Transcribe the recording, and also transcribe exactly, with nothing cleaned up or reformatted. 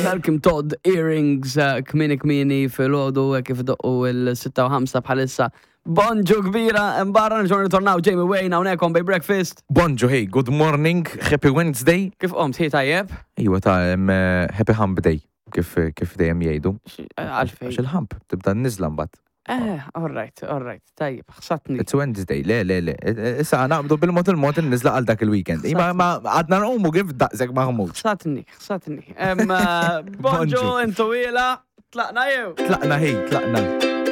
Malcolm Todd Earrings eh, kmieni kmieni filgħodu eh, kif doqqu il-sitta u ħamsa bħalissa. Bonġu kbira, imbarra nġor ritornaw Jamie Wayne hawnhekk on Bay Breakfast. Bonġu, hey, good morning, happy Wednesday. Kif qomt, hi tajjeb? Iwa ta' em, eh, happy hump day, kif, kif dejjem jgħidu. X- eh, Għalfejn. Għax il-hump, tibda n-nizla mbagħad. Eh, all right, all right, tajjeb, ħsatni. It's Wednesday, le, le, le. Issa naqbdu bil-mod il-mod il-nizla għal dak il-weekend. Ima ma għadna nqumu kif daqshekk maħmud. Ħsatni, ħsatni. Em, eh, Bonġu, Bonġu. intu ila, tlaqna jew. Tlaqna, hey, tlaqna.